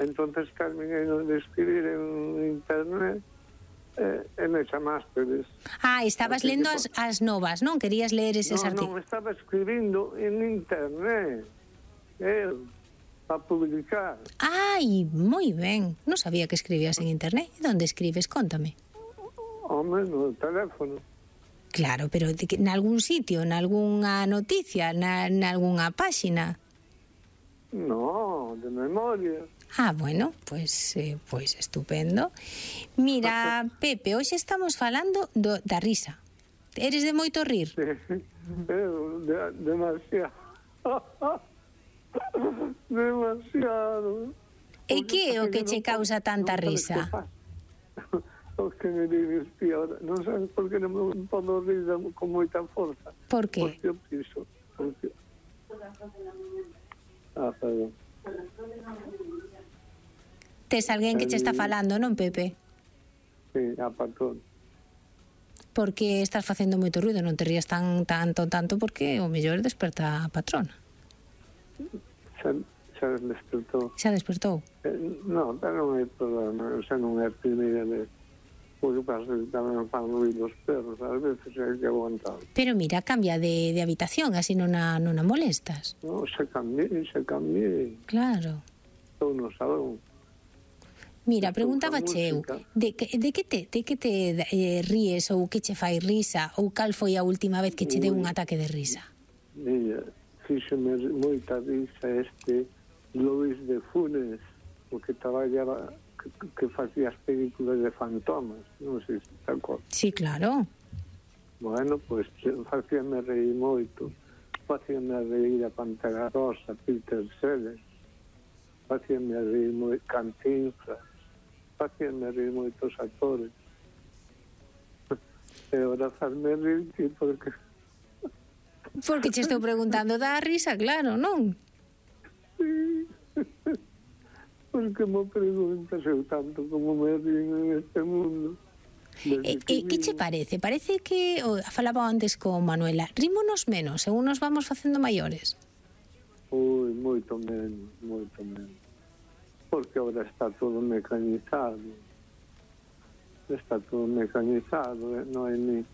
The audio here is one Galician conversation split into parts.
entonces terminei de escribir en internet e me chamastes. Estabas lendo as novas, non? Querías ler eses artigos. Non, estaba escribindo en internet para publicar. Ai, moi ben. Non sabía que escribías en internet. E onde escribes? Cóntame. Home, no teléfono. Claro, pero nalgún sitio, nalgunha noticia, nalgunha páxina? No, de memoria. Bueno, pues estupendo. Mira, Pepe, hoxe estamos falando da risa. Eres de moito rir? Sí, demasiado. Demasiado. E que é o que che causa tanta risa? O que me dices, tío, non sabes por que non me podo rir con moita forza. Por que? Porque eu piso. Perdón. Tes alguén que che está falando, non, Pepe? Sí, a patrón. Porque estás facendo moito ruido, non te rías tanto, porque o mellor desperta a patrona. Xa despertou. Xa despertou? Non, pero non hai problema, xa non é a primeira vez. O que pasa é que tamén fan ruido os perros, ás veces hai que aguantar. Pero mira, cambia de habitación, así non a molestas. Non, xa cambiei. Claro. Estou no salón. Mira, preguntaba eu, de que te ríes ou que che fai risa ou cal foi a última vez que che deu un ataque de risa? Mira, fíxome moita risa Luis de Funes, o que traballaba, que facía as películas de fantomas, non sei se te acordas. Sí, claro. Bueno, pois facíame reír moito. Facíame reír a Pantera Rosa, Peter Sellers, facíame reír moito Cantinflas, facíame reír moitos actores. E ahora fazme reír porque... Porque che estou preguntando da risa, claro, non? Sí. Porque me preguntas eu tanto como me ríen en este mundo. Que che parece? Parece que, falaba antes con Manuela, rímonos menos, según nos vamos facendo maiores? Ui, moito menos. Porque ahora está todo mecanizado. Non hai ni...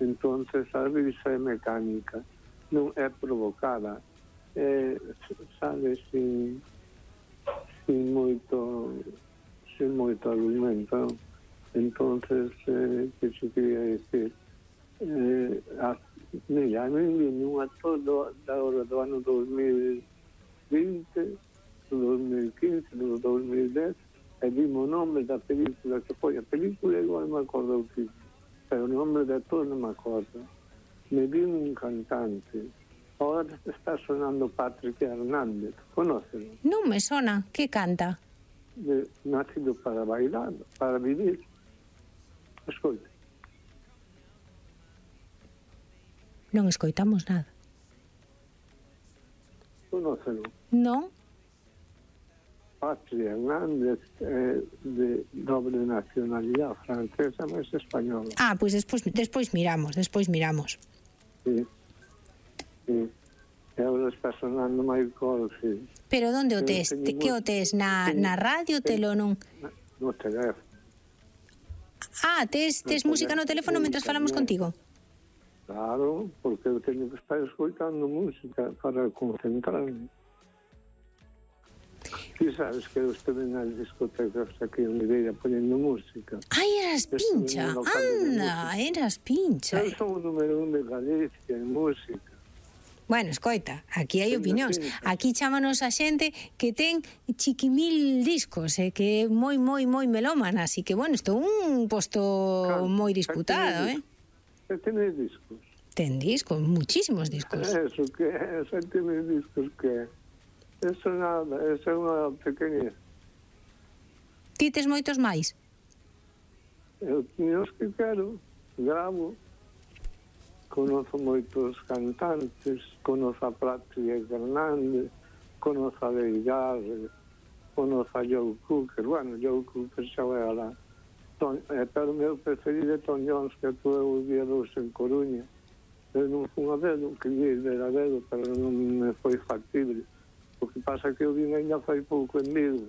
Entonces a risa é mecánica, non é provocada, sabe, sin moito argumento. Entonces, que se quería decir, mira, a mí viene un actor do ano 2020, do 2015, do 2010, e dime o nome da película que foi. A película igual me acordo o título, pero o nome de actor non me acordo. Me vi un cantante. Ahora está sonando Patrick Hernández. Conócelo? Non me sona. Que canta? Nacido para bailar, para vivir. Escoite. Non escoitamos nada. Conócelo? Non? Patrick Hernández, de doble nacionalidade, francesa, mas española. Pois despois miramos. Sí. E agora está sonando Michael Field. Pero onde o tes? Que o tes? Na radio, telo non? No teléfono. Tes música no teléfono mentre falamos contigo? Claro, porque eu teño que estar escoitando música para concentrarme. Ti sabes que eu estive nas discotecas aquí en Mireia ponendo música. Eras pincha, anda, eras pincha. Eu son o número 1 de Galicia en música. Bueno, escoita, aquí hai opinións. Aquí chámanos a xente que ten chiquimil discos, que é moi melómana, así que, bueno, isto é un posto moi disputado, Que tenes discos? Ten discos, muchísimos discos. Eso que é, xa tenes discos que é. Eso nada, eso é unha pequeña. Ti tes moitos máis? Eu teño os que quero, gravo. Conozo moitos cantantes, conozo a Patrick Hernández, conozo a Leigar, conozo a Joe Cooker. Bueno, Joe Cooker xa vai alá. Pero o meu preferido é Tom Jones, que actuou o día 2 en Coruña. Eu non fui a verlo, quería ir ver a verlo, pero non me foi factible. O que pasa que eu vim ainda fai pouco en Vigo.